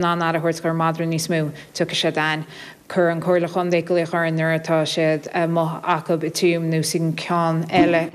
In ann aire a thabhairt dhár madra níos mó, tiocfaidh siad a'ainn. Cuireann an Comhairle Chontae glaoch orainn nuair atá siad amuigh acub i Tuaim nó san ceann eile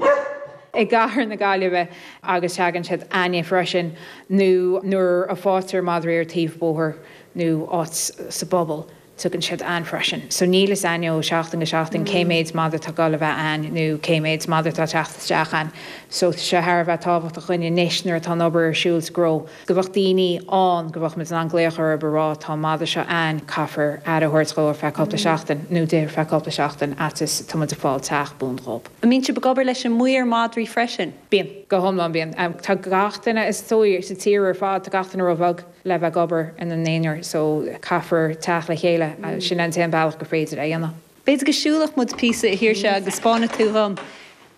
i gcathair na Gaillimhe agus tagann siad a'ainne freisin nó nuair a fáitear madraí ar taobh bóthair nó áit sa bpobal. Tugann siad a'ainn freisin. So níl fhios a'ainn ó seachtain go seachtain cé méid madra atá ag dul a bheith a'ainn nó cé méid madra atá ag teacht isteach a'ainn. So tá sé thar a bheith tábhachtach dhuinn anois nuair atá an obair ar siúl sa gcró go bheadh daoine ann go bheadh muid in ann glaoch orthu a rá tá an madra seo a'ainn caithfear aire a thabhairt dhó ar feadh cúpla seachtain nó di ar feadh cúpla seachtain fhad is tá muid ag fáil teach buan dhób. An mbíonn sibh ag obair leis an maor madraí freisin? Bíonn. Go hiomlán bíonn. Tá gach duine is dóigh sa tír ar fad tá gach duine ró-bheag. le bheith ag obair ina n-aonar so caithfear teacht le chéile, sin an t-aon bealach gur féidir é a dhéanamh. B'fhéidir go siúlfadh muid píosa a Shaoirse agus 'spáinfidh tú dhom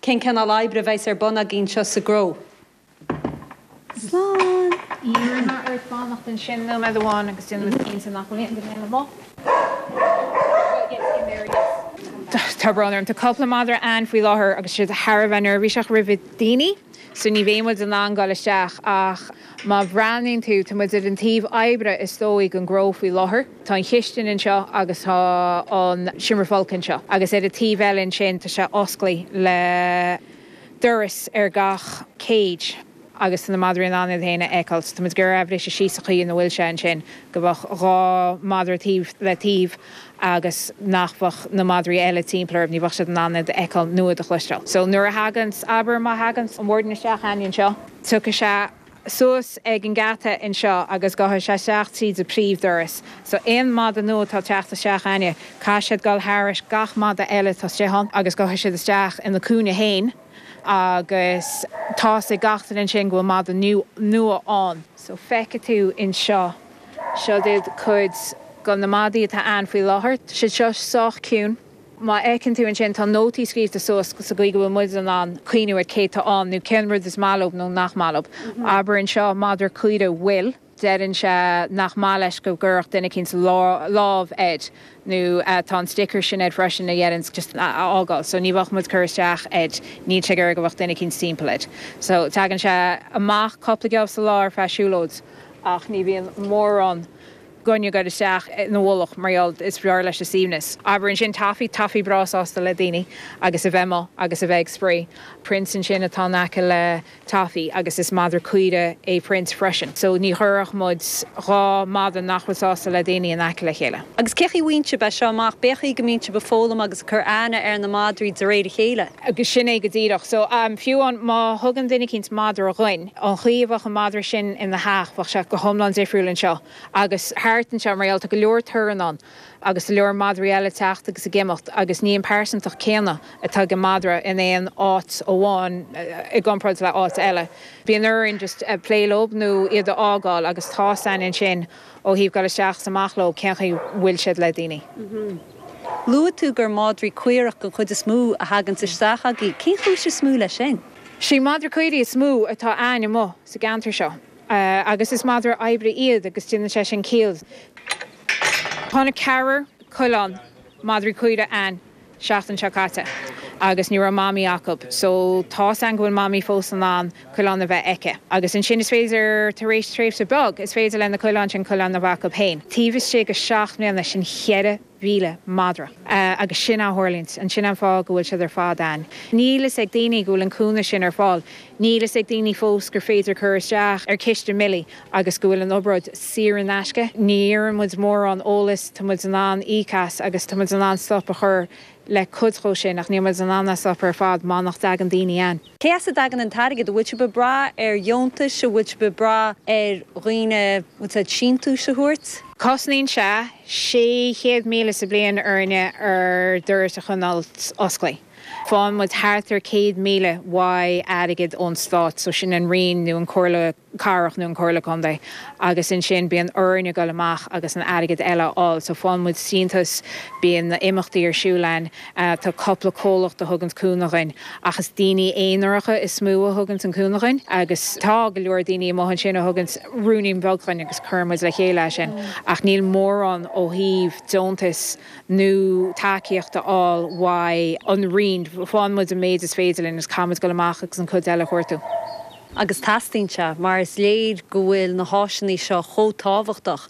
cén cineál oibre a bheas ar bun agaibh anseo sa gcró. Slán! Iarrfaidh mé ort fanacht ansin nóiméad amháin agus déanfaidh muid cinnte nach bhfuil aon duine eile amuigh. Tá brón orm, tá cúpla madra a'ainn faoi láthair agus siad thar a bheith neirbhíseach roimh daoine so ní bheidh muid in ann dul isteach ach má bhreathnaíonn tú, tá muid ar an taobh oibre is dóigh den gcró faoi láthair. Tá an chistin anseo agus tá an seomra folctha anseo agus ar an taobh eile ansin tá sé osclaithe le doras ar gach cage. agus tá na madraí in ann iad féin a fheiceáil. So tá muid ag iarraidh é a bhriseadh síos sa chaoi ina bhfuil sé ansin, go mbeadh 2 madra taobh le taobh agus nach mbeadh na madraí eile timpeall orthu, ní bheadh siad in ann iad a fheiceáil nó iad a chloisteáil. So nuair a thaganns, abair má thaganns an warden isteach a'ainn anseo, tiocfaidh sé suas ag an geata anseo agus gabhfaidh sé isteach tríd an príomh-doras. So aon mhadra nua atá ag teacht isteach a'ainne, caithfidh siad dul thairis gach madra eile atá istigh ann agus gabhfaidh siad isteach ina cúinne féin. agus tá's ag gach duine ansin go bhfuil madra nua ann. So feicfidh tú anseo, seo iad cuid de na madaí atá ann faoi láthair. Tá siad seo sách ciúin. Má fheiceann tú ansin tá nótaí scríobhta suas sa gcaoi go bhfuil muid in ann cuimhniú ar cé tá ann nó cén rud is maith leo nó nach maith leo. Abair anseo madra caora Will. Deireann sé nach maith leis go gcuirfeadh duine eicínt lámh air nó tá an sticker sin air freisin a dheireanns just a fhágáil so ní bheadh muid ag cur isteach air, níl sé ag iarraidh go bheadh duine eicínt timpeall air. So tagann sé amach cúpla geábh sa lá ar feadh siúlóid ach ní bhíonn mórán againne ag dul isteach ina mhullach mar gheall is fearr leis an suaimhneas. Abair ansin Toffee, Toffee breá sásta le daoine agus a bheith amuigh agus a bheith ag spraoi. Prince ansin atá in aice le Toffee agus is madra caora é Prince freisin so ní chuirfeadh muid 2 mhadra nach bhfuil sásta le daoine in aice le chéile. Agus cé chaoi bhfaigheann sibh é seo amach? B'é chaoi go mbíonn sibh ag foghlaim agus ag cur aithne ar na madraí de réir a chéile? Agus sin é go díreach. So fiú amháin má thugann duine eicínt madra dhuinn, an chaoi a bheadh an madra sin ina theach bheadh sé go hiomlán difriúil anseo agus thart anseo mar gheall tá go leor torann ann. agus go leor madraí eile ag teacht agus ag imeacht agus ní an pearsantacht céanna atá ag an madra in aon áit amháin i gcomparáid le áit eile. Bíonn orainn just plé leo nó iad a fhágáil agus tá's a'ainn ansin ó thaobh dul isteach is amach leo cén chaoi bhfuil siad le daoine. Luaigh tú gur madraí caorach den chuid is mó a thaganns isteach agaibh. Cén chúis is mó leis sin? Sé madra caoirigh is mó atá a'ainn amuigh sa gceantar seo agus is madra oibre iad agus déanann sé sin ciall. Tháinig ceathrar coileán madraí caoire a'ainn seachtain seo caite agus ní raibh mamaí acu so tá's a'ainn go bhfuil mamaí fós in ann coileán a bheith aici agus ansin is féidir tar éis tréimhse beag is féidir le na coileáin sin coileán a bheith acu féin. Taobh istigh de 7 mbliana sin 4,000 madra agus sin a tharlaíonns and sin an fáth go bhfuil siad ar fad a'ainn. Níl fhios ag daoine go bhfuil an cúnamh sin ar fáil. Níl fhios ag daoine fós gur féidir cur isteach ar Ciste Millie agus go bhfuil an obráid saor in aisce. Ní iarrann muid mórán eolais, tá muid in ann íoc as agus tá muid in ann stop a chur le cuid dhó sin ach níl muid in ann é a stop ar fad má nach dtagann daoine a'ainn. Cé as a dtagann an t-airgead? An bhfuil sibh ag brath ar dheontais? An bhfuil sibh ag brath ar dhaoine, bhfuil siad, síntiúis a thabhairt? Cosnaíonn sé 600,000 sa bliain orainne ár doras a choinneáil osclaithe. Faigheann muid thart ar 100,000 uaidh airgead ón stát, so sin an Roinn nó an Comhairle Cathrach nó an Comhairle Contae agus ansin bíonn orainn a dhul amach agus an airgead eile a fháil. So faigheann muid síntiús, bíonn na imeachtaí ar siúl a'ainn, tá cúpla comhlacht a thuganns cúnamh dhuinn ach is daoine aonaracha is mó a thuganns an cúnamh dhuinn agus tá go leor daoine amuigh ansin a thuganns ruainnín beag dhuinn agus cuireann muid le chéile é sin ach níl mórán ó thaobh deontais nó tacaíocht a fháil uaidh an Roinn. Faigheann muid an méid is féidir linn agus caithfidh muid dul amach agus an cuid eile a chuartú. Agus teastaíonn sé, mar is léir go bhfuil na háiseanna seo chomh tábhachtach.